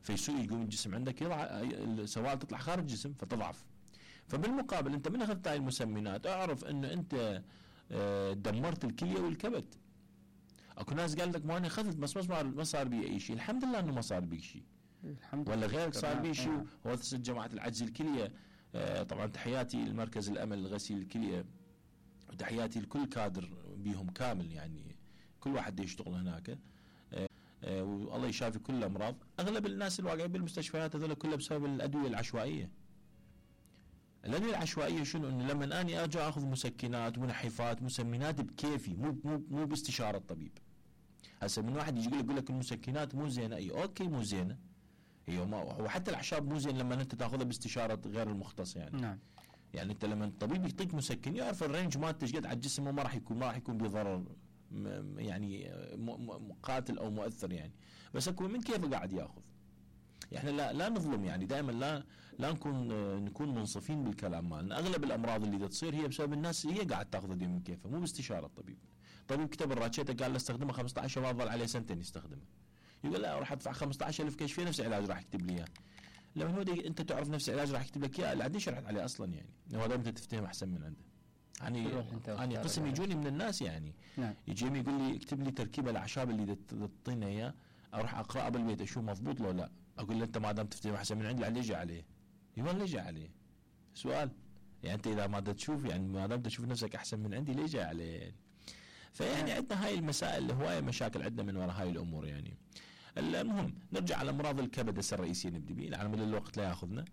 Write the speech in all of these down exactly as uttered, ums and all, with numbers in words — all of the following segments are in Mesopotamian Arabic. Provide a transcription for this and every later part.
فيسوء يقوم الجسم عندك يضع السوائل تطلع خارج الجسم فتضعف. فبالمقابل انت من اخذت هاي المسمنات اعرف انه انت دمرت الكليه والكبد. اكو ناس قال لك ما انا اخذت بس ما صار بي اي شيء. الحمد لله انه ما صار بي شيء، الحمد ولا لله غيرك صار بي شيء. آه. هو جماعه العجز الكليه آه طبعا تحياتي المركز الامل لغسيل الكليه، وتحياتي لكل كادر بيهم كامل، يعني كل واحد يشتغل هناك آه آه والله يشافي كل الامراض. اغلب الناس الواقعين بالمستشفيات هذول كلها بسبب الادويه العشوائيه. الادويه العشوائيه شنو؟ انه لما اني ارجع اخذ مسكنات منحفات مسمنات بكيفي، مو مو مو باستشاره الطبيب. هسه من واحد يجي يقول لك يقول لك المسكنات مو زينه، اي اوكي مو زينه هي، ما وحتى الاعشاب مو زين لما انت تاخذها باستشاره غير المختص يعني. نعم. يعني انت لما الطبيب يعطيك مسكن يعرف الرينج مالته ايش قد على الجسم، وما راح يكون ما راح يكون بضرر يعني قاتل او مؤثر يعني، بس اكو من كيف قاعد ياخذ. احنا لا لا نظلم يعني، دائما لا لا نكون نكون منصفين بالكلام مالنا. اغلب الامراض اللي تصير هي بسبب الناس هي قاعد تاخذ دي من كيفها، مو باستشاره الطبيب. الطبيب كتب الراتشيتا قال له استخدمه خمسة عشر وظل عليه سنتين يستخدمه، يقول لا راح ادفع خمسة عشر ألف كشفيه نفس العلاج راح يكتب لي اياه. لما هو انت تعرف نفس العلاج راح يكتب لك اياه، لا عندي شرحت عليه اصلا يعني، هو انت تفتهم احسن من عنده. يعني يعني قسم يجوني من الناس يعني نعم. يجيني يقول لي اكتب لي تركيب الاعشاب اللي تعطينا اياه، اروح اقراه بالبيت اشوف مضبوط لو لا، اقول له انت ما دام تفتهم احسن من عندي ليش عليه؟ يقول ليش عليه؟ سؤال يعني انت اذا ما تشوف يعني ما دام تشوف نفسك احسن من عندي ليش عليه يعني؟ فيعني عندنا هاي المسائل هوايه مشاكل عندنا من وراء هاي الامور يعني. المهم نرجع على امراض الكبد هسه الرئيسيه نبدي به على مدى الوقت لا ياخذنا.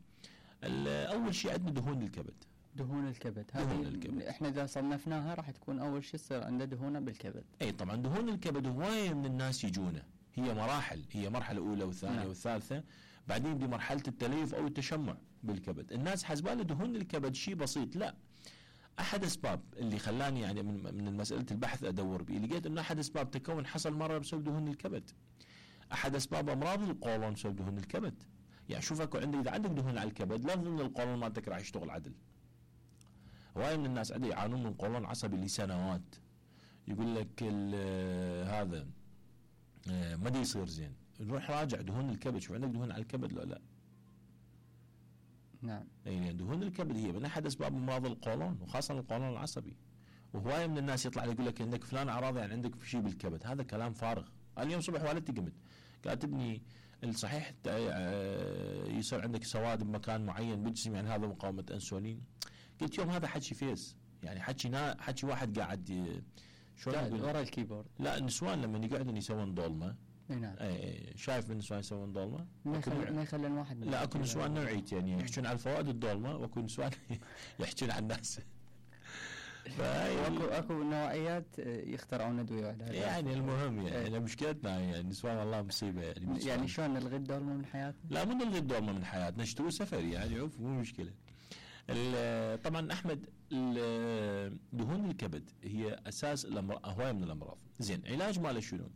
اول شيء عندنا دهون الكبد. دهون الكبد دهون الكبد احنا اذا صنفناها راح تكون اول شيء يصير عنده دهونه بالكبد. اي طبعا دهون الكبد هوايه من الناس يجونه، هي مراحل، هي مرحله اولى والثانيه نعم. والثالثه، بعدين بمرحله التليف او التشمع بالكبد. الناس حسباله دهون الكبد شيء بسيط، لا. احد اسباب اللي خلاني يعني من من مساله البحث ادور بيه لقيت انه احد اسباب تكون حصل مره بسبب دهون الكبد. احد اسباب امراض القولون بسبب دهون الكبد. يعني شوف اكو عندك اذا عندك دهون على الكبد لا تظن القولون مالتك راح يشتغل عدل. هواي من الناس عندي يعانون من قولون عصبي لسنوات، يقول لك هذا ما دي يصير زين، نروح راجع دهون الكبد شوف عندك دهون على الكبد لو لا. نعم. يعني دهون الكبد هي من احد اسباب امراض القولون وخاصه القولون العصبي. وهوايه من الناس يطلع يقول لك عندك فلان اعراض يعني عندك شيء بالكبد، هذا كلام فارغ. اليوم صبح والدتي قمت قالت ابني الصحيح يصير عندك سواد بمكان معين بالجسم يعني هذا مقاومه انسولين. قلت يوم هذا حكي فيس يعني حكي نا حكي واحد قاعد شلون ورا الكيبورد. لا النسوان لما يقعدون يسوون ضلمه نعم. اي شايف من نسوان يسوون ضلمه ما يخلي ما يخلي الواحد لا اكو نسوان نوعيت يعني يحكون على الفوائد الضلمه واكو نسوان يحكون عن الناس. اكو اكو نوعيات يخترعون ادويه وحدها يعني المهم يعني مشكلتنا يعني النسوان والله مصيبه يعني. يعني شلون نلغي الضلمه من حياتنا؟ لا مو نلغي الضلمه من حياتنا، نشتري سفر يعني عوف مو مشكله. طبعا احمد دهون الكبد هي اساس الامراض هوايه من الامراض. زين علاج ماله شنو؟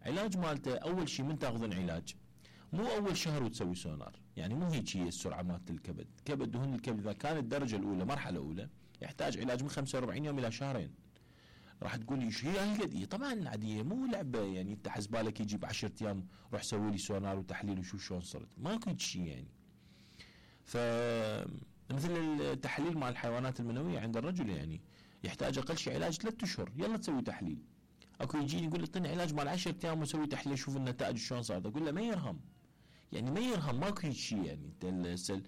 علاج مالته اول شيء من تاخذون علاج مو اول شهر وتسوي سونار، يعني مو هيك هي السرعه مالت الكبد. كبد دهون الكبد اذا كانت الدرجه الاولى مرحله اولى يحتاج علاج من خمسة وأربعين يوم الى شهرين. راح تقول لي ايش هي هالقد؟ طبعا عاديه مو لعبه يعني انت حسبالك يجي بعشرة ايام روح سوي لي سونار وتحليل وشوف شلون صرت، ماكو شيء يعني. ف مثل التحليل مع الحيوانات المنويه عند الرجل يعني يحتاج اقل شيء علاج ثلاثة اشهر يلا تسوي تحليل. اكو يجيني يقول لي اعطيني علاج مال عشرة ايام وسوي تحليل شوف النتائج شلون صارت، اقول له ما يرهم يعني ما يرهم ماكو هيك شيء يعني. انت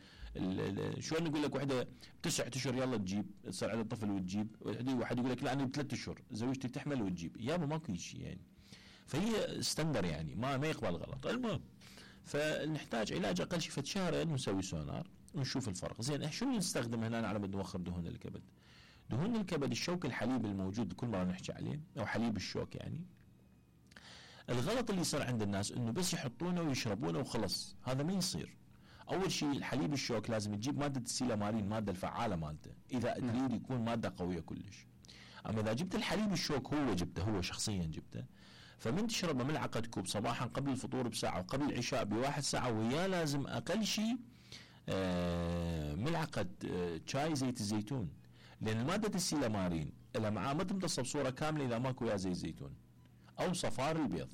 شلون نقول لك وحده بتسعة اشهر يلا تجيب تصير عندها طفل وتجيب، واحد يقول لك لا انا بثلاث اشهر زوجتي تحمل وتجيب، يابا ماكو هيك شيء يعني. فهي ستاندر يعني ما ما يقبل غلط. المهم فنحتاج علاج اقل شيء فد شهرين ونسوي سونار ونشوف الفرق. زين شو نستخدم هنا على مود نوخر دهون الكبد؟ دهون الكبد الشوك الحليب الموجود كل مره نحكي عليه او حليب الشوك يعني. الغلط اللي يصير عند الناس انه بس يحطونه ويشربونه وخلص، هذا ما يصير. اول شيء الحليب الشوك لازم تجيب ماده السيلامارين الماده الفعاله مالته اذا تريد يكون ماده قويه كلش. اما اذا جبت الحليب الشوك هو جبته هو شخصيا جبته فمن تشربه ملعقه كوب صباحا قبل الفطور بساعه وقبل العشاء بواحد ساعه وياه لازم اقل شيء آه ملعقه آه شاي زيت الزيتون، لان ماده السيلامارين لها معاه ما تمتص بصوره كامله اذا ماكو وياه زيت زيتون او صفار البيض.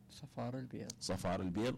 صفار البيض صفار البيض